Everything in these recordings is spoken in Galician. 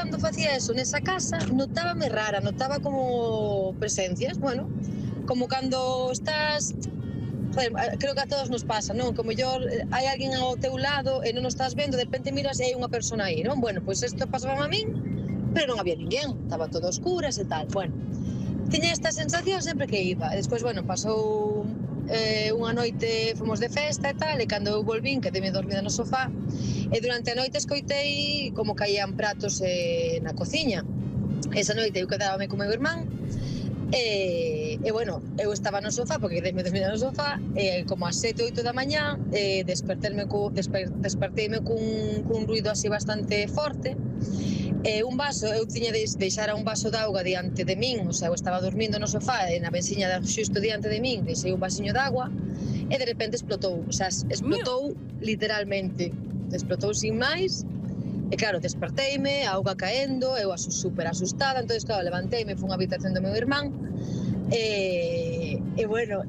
cando facía eso nesa casa, notábame rara, notaba como presencias, bueno, como cando estás... Joder, creo que a todos nos pasa, non? Como mellor hai alguén ao teu lado e non o estás vendo, de repente miras e hai unha persona aí, non? Bueno, pois isto pasaba a min, pero non había ninguén, estaba todo a oscuras e tal, bueno. Tiña esta sensación sempre que iba, e despois, bueno, pasou unha noite, fomos de festa e tal, e cando eu volvín, quedeme dormida no sofá, e durante a noite escoitei como caían pratos na cociña. Esa noite eu quedábame con meu irmán, e bueno, eu estaba no sofá, porque quedeme dormida no sofá, e como as 7, 8 da mañá, desperteime cun ruido así bastante forte, un vaso, eu tiña deixara un vaso de auga diante de min, o sea, eu estaba dormindo no sofá e na bensiña xusto diante de min, deixei un vasiño de agua e de repente explotou, o sea, explotou literalmente, explotou sin máis. E claro, desperteime, a auga caendo, eu super asustada, entonces claro, levanteime, fui á habitación do meu irmán e bueno,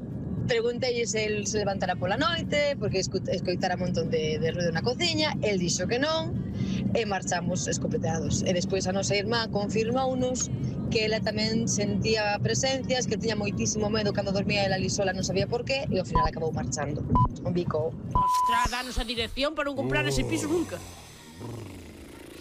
preguntei se el se levantara pola noite porque escoitara un montón de ruido na cociña, el dixo que non e marchamos escopeteados. E despois a nosa irmá confirmounos que ela tamén sentía presencias, que tiña moitísimo medo cando dormía ela ali sola, non sabía por qué, e ao final acabou marchando. Un bico. Ostras, danos a dirección para non comprar ese piso nunca.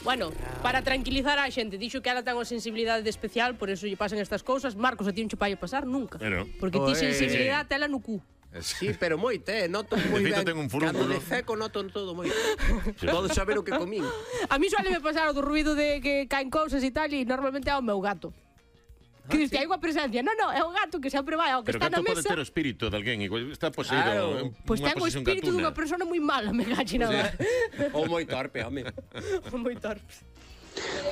Bueno, para tranquilizar a xente, dixo que ela ten unha sensibilidade especial, por eso lle pasan estas cousas. Marcos, a ti non che vai a pasar nunca. Porque ti sensibilidade tela no cu. Sí, pero moito, noto moi ben. Cando de feco noto todo moito. Podo saber o que comín. A mí suele me pasar o do ruido de que caen cousas e tal, e normalmente é o meu gato. Que dices que hai unha presencia. Non, é o gato que sempre vai ao que está na mesa. Pero o gato pode ter o espírito de alguén, igual está poseído. Pois ten o espírito dunha persona moi mala, me gache nada. Ou moi torpe, home. Ou moi torpe.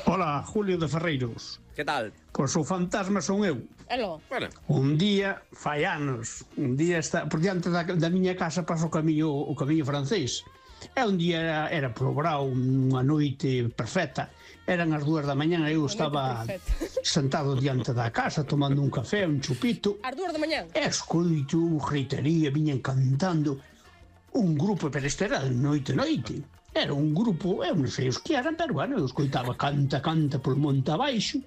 Hola, Julio de Ferreiros. Que tal? Pois o fantasma son eu. Elo. Un día, fai anos, un día está por diante da miña casa pasa o camiño francés. E un día era polo brao, unha noite perfecta. Eran as 2 da mañá e eu estaba sentado diante da casa tomando un café, un chupito. As 2 da mañá? E escoito gritería, viñan cantando un grupo, pero este era noite. Era un grupo, eu non sei os que eran, pero bueno, eu escoitaba canta polo monte abaixo.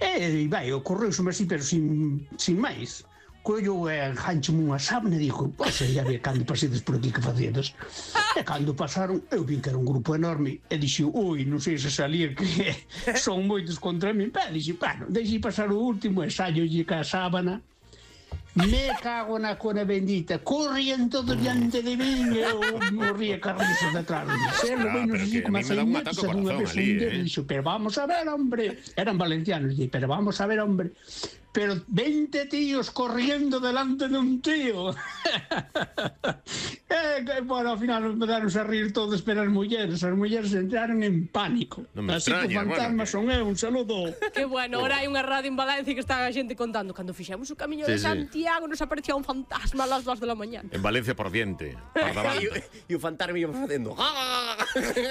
E vai, ocorreuseme así, pero sin máis. Collo e enganchome unha sábana e digo, pois ia ver cando pasedes por aquí que facedes. E cando pasaron, eu vin que era un grupo enorme e dixo, ui, non sei se salir que son moitos contra min. E dixo, bueno, deixei pasar o último e sallolle ca sábana. Me cago na cona bendita, corrían todo diante de min e eu morría carrizo detrás de mí. Pero que a mí me dá un ataque ao corazón ali, dixo, pero vamos a ver, hombre. Eran valencianos, dixo, pero vamos a ver, hombre. Pero 20 tíos corriendo delante de un tío. Bueno, ao final empezaron a rir todos, pero as mulleres entraron en pánico. Así que o fantasma son eu, un saludo. Que bueno, ahora hai unha radio en Valencia que está a xente contando. Cando fixemos o camiño de Santiago nos aparecía un fantasma a las 2 da mañá. En Valencia por diente. E o fantasma iba facendo.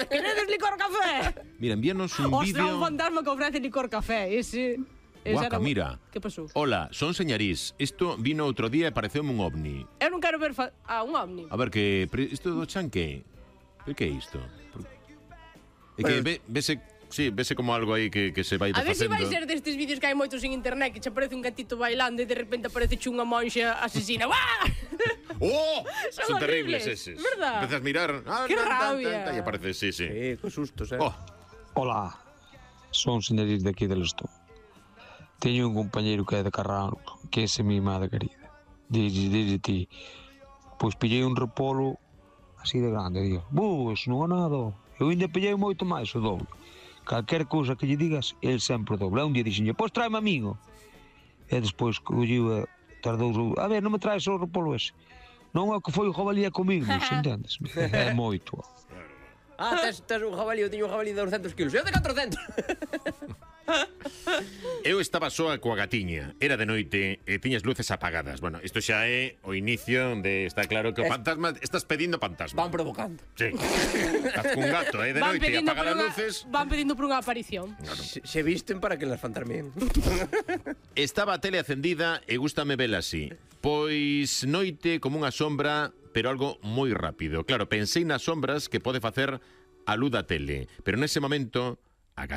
Queredes licor café? Mira, envíanos un vídeo. Ostras, un fantasma que ofrece licor café, ese... Guaca, mira. Que pasou? Hola, son Señarís. Isto vino outro día e pareceume un ovni. Eu non quero ver un ovni. A ver, que isto do chan que? Que é isto? É que vese... Sí, vese como algo aí que se vai A desfacendo. ver se vai ser destes vídeos que hai moitos en internet que che aparece un gatito bailando e de repente aparece unha monxa asesina. ¡Oh! Son terribles eses. ¿Verdad? Empezas a mirar. ¡Qué rabia! E aparece, sí. Que sustos, Hola, son Señarís de aquí del Estón. Teño un compañeiro que é de Carrano, que é mi madre querida. Dice ti, pois pillei un repolo así de grande, digo, eso non é nada. Eu ainda pillei moito máis, o doble. Calquer cousa que lle digas, el sempre o doble. Un día dixenlle, pois tráeme amigo. E despois colliu, tardou, a ver, non me traes o repolo ese. Non é o que foi o jabalí comigo, entendes? É moito. Tes un jabalí, eu tiño un jabalí de 200 kilos. Eu de 400. Eu estaba soa coa gatiña, era de noite e tiñas luces apagadas. Bueno, isto xa é o inicio de... Está claro que o fantasma... Estás pedindo fantasma. Van provocando. Sí. Estás cun gato, de noite e apaga as luces. Van pedindo por unha aparición. Se visten para que las fantasmen. Estaba a tele acendida e gústame vela así. Pois noite como unha sombra, pero algo moi rápido. Claro, pensei nas sombras que pode facer a luz da tele, pero nese momento a